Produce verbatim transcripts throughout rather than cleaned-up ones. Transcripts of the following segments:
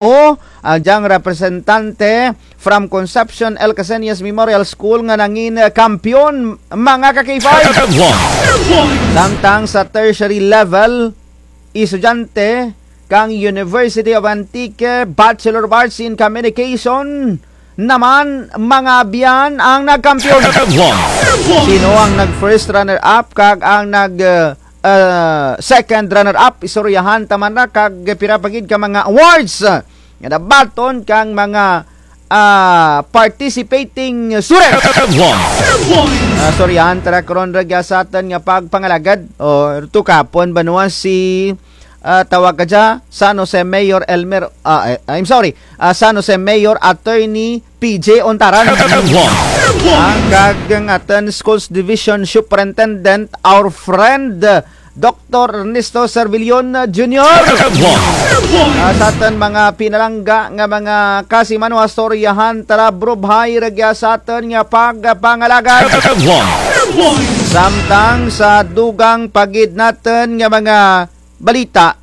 O, ang dyang representante from Concepcion El Casenias Memorial School nga nangin, eh, kampiyon, mga ka-K five. Samtang sa tertiary level, estudyante kang University of Antique, Bachelor of Arts in Communication naman, mga abyan, ang nagkampiyon. Sino ang nag-first runner-up kag ang nag, eh, eh, second runner-up? Istoryahan ta man ra kag pira pa gid ka mga awards nga nabaton kang mga, ah, participating students. Ah, istoryahan ta ra karon rugya sa atun nga pagpangalagad. O, tukapon banwa si, ah, tawag ka dya, San Jose Mayor Elmer, ah, eh, I'm sorry, ah, San Jose Mayor Attorney P J Ontaran. Ang kag ang atun Schools Division Superintendent, our friend, Doktor Ernesto Servillon Junior. Ah, sa atun mga pinalangga nga mga kasimanwa, istoryahan ta ra, bro, hay rugya sa atun nga pagpangalagad. Samtang sa dugang pa gid natun nga mga balita,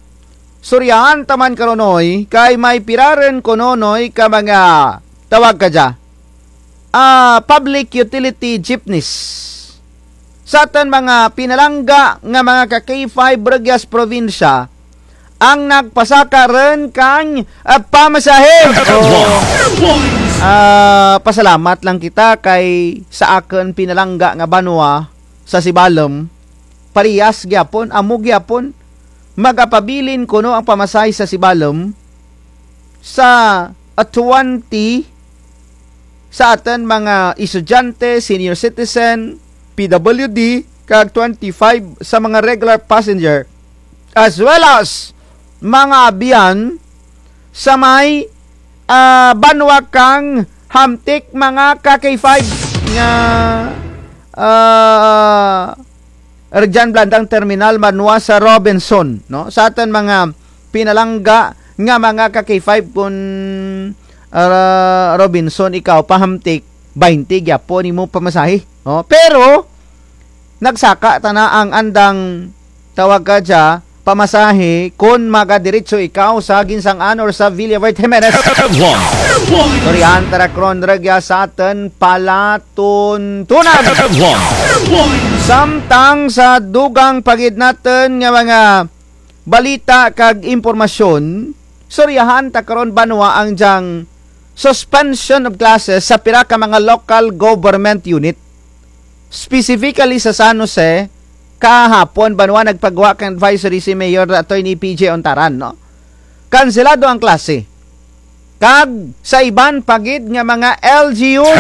istoryahan ta man karon, Noy, kay may pira run kuno, Noy, ka mga tawag ka dya, ah, public utility jeepneys. Sa atun mga pinalangga nga mga ka-K five rugya sa probinsya, ang nagpasaka run kang, ah, pamasahe. O, ah, pasalamat lang kita kay sa akun pinalangga nga banwa sa Sibalom, parehas gyapon, amo gyapon, magapabilin kuno ang pamasahe sa Sibalom sa, ah, twenty sa atun mga estudyante, senior citizen, P W D, kag twenty-five sa mga regular passenger, as well as mga abyan sa may, ah, banwa kang Hamtic, mga ka-K five nga, ah, rugyan blandang terminal banwa sa Robinson, no? Sa atun mga pinalangga nga mga ka-K five, kun, ah, Robinson ikaw pa Hamtic, baynte gyapon imo pamasahe, no? Pero nagsaka tana ang andang tawag ka dya pamasahe kun magadiretso ikaw sa Guinsang-an or sa Villaverde Jimenez. Istoryahan ta ra karon rugya sa atun palatuntunan. Samtang sa dugang pa gid natun nga mga balita kag impormasyon, istoryahan ta karon banwa ang dyang suspension of classes sa pira ka mga local government unit. Specifically sa San Jose, kahapon banwa nagpagwa kang advisory si Mayor Attorney P J Ontaran, no? Kanselado ang klase. Kag sa iban pa gid nga mga L G Us,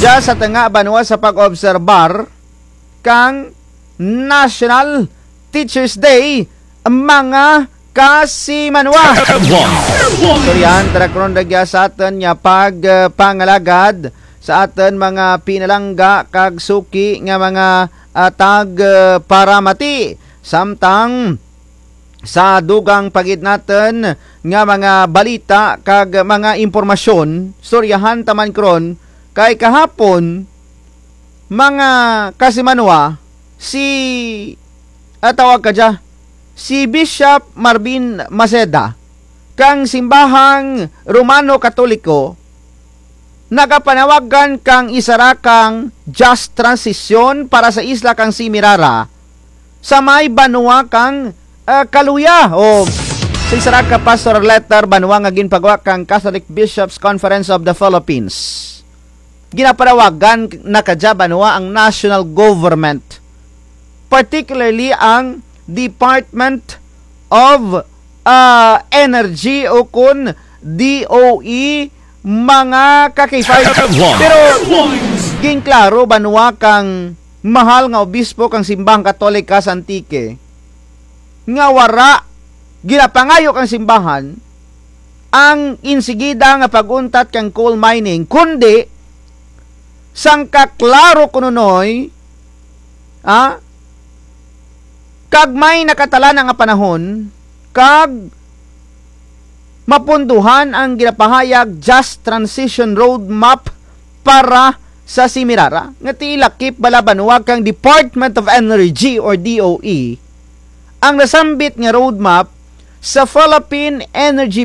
dya sa tunga banwa sa pag-obserbar kang National Teachers Day, mga kasimanwa. Istoryahan ta ra karon rugya sa atun nga pag, eh, pangalagad sa atun mga pinalangga kag suki nga mga, ah, tag, eh, paramati. Samtang sa dugang pa gid natun nga mga balita kag mga impormasyon, istoryahan ta man karon kay kahapon, mga kasimanwa, si, ah, tawag ka dya, si Bishop Marvin Maceda kang simbahang Romano Katoliko nagapanawagan kang isara kang just transition para sa isla kang Semirara sa may banwa kang, ah, Caluya. O, sa isara ka pastoral letter banwa nga ginpagwa kang Catholic Bishops Conference of the Philippines, ginapanawagan na kadya banwa ang national government, particularly ang Department of, ah, Energy o kun D O E, mga ka-K five. Pero ginklaro banwa kang mahal nga obispo kang Simbahang Katolika sa Antique nga wara ginapangayo kang simbahan ang insigida nga pag-untat kang coal mining, kundi sangka klaro kuno, Noy, ah, kag may nakatala na nga panahon, kag mapunduhan ang ginapahayag Just Transition Roadmap para sa Semirara, nga ti lakip bala banwa kang Department of Energy or D O E, ang nasambit nga roadmap Sa Philippine Energy